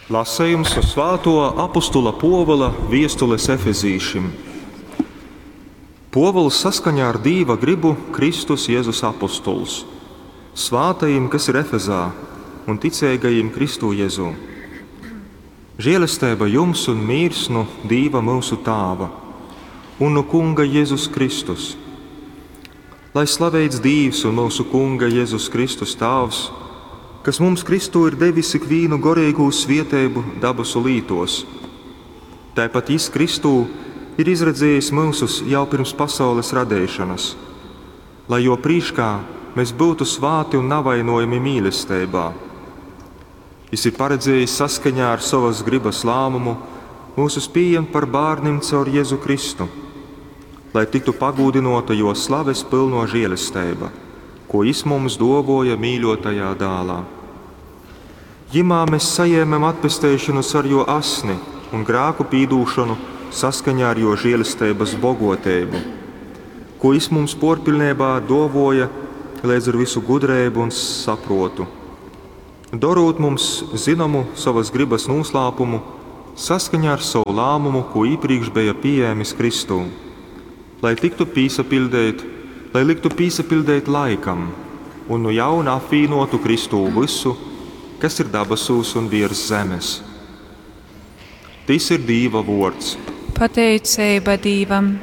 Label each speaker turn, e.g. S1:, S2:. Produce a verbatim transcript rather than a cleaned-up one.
S1: Lasejums nu svātuo apostula Puovula viestules efezīšim. Puovuls, saskaņā ar Dīva grybu Kristus Jezus apostols, svātajim, kas ir Efezā, un ticeigajim Kristū Jezū. Žielesteiba jums un mīrs nu Dīva myusu Tāva un nu Kunga Jezus Kristus. Lai slaveits Dīvs un myusu Kunga Jezus Kristus Tāvs, kas mums Kristū ir devis ikvīnu goreigū svieteibu dabasu lītuos. Taipat Jis Kristū ir izredziejis myusus jau pyrms pasaules radeišonys, lai Juo prīškā mes byutu svāti un navainojami mīlesteibā. Jis ir paredziejis saskaņā ar sovys grybys lāmumu myusus pījemt par bārnim caur Jezu Kristu, lai tyktu pagūdynuota Juo slaves pylnuo žielesteiba, ko Jis mums duovuoja mīļuotajā Dālā. Jymā mes sajēmem atpesteišonu caur Juo asni un grāku pīdūšonu saskaņā ar Juo žielesteibys boguoteibu, ko Jis mums puorpiļneibā duovuoja leidz ar vysu gudreibu un sapruotu, dorūt mums zynomu sovys grybys nūslāpumu saskaņā ar sovu lāmumu, kū īprīkš beja pījēmis Kristū, lai tyktu pīsapiļdeit, lai lyktu pīsapiļdeit laikam un nu jauna apvīnuotu Kristū vysu, kas ir dabasūs un viers zemes. Tys ir Dīva vuords.
S2: Pateiceiba Dīvam.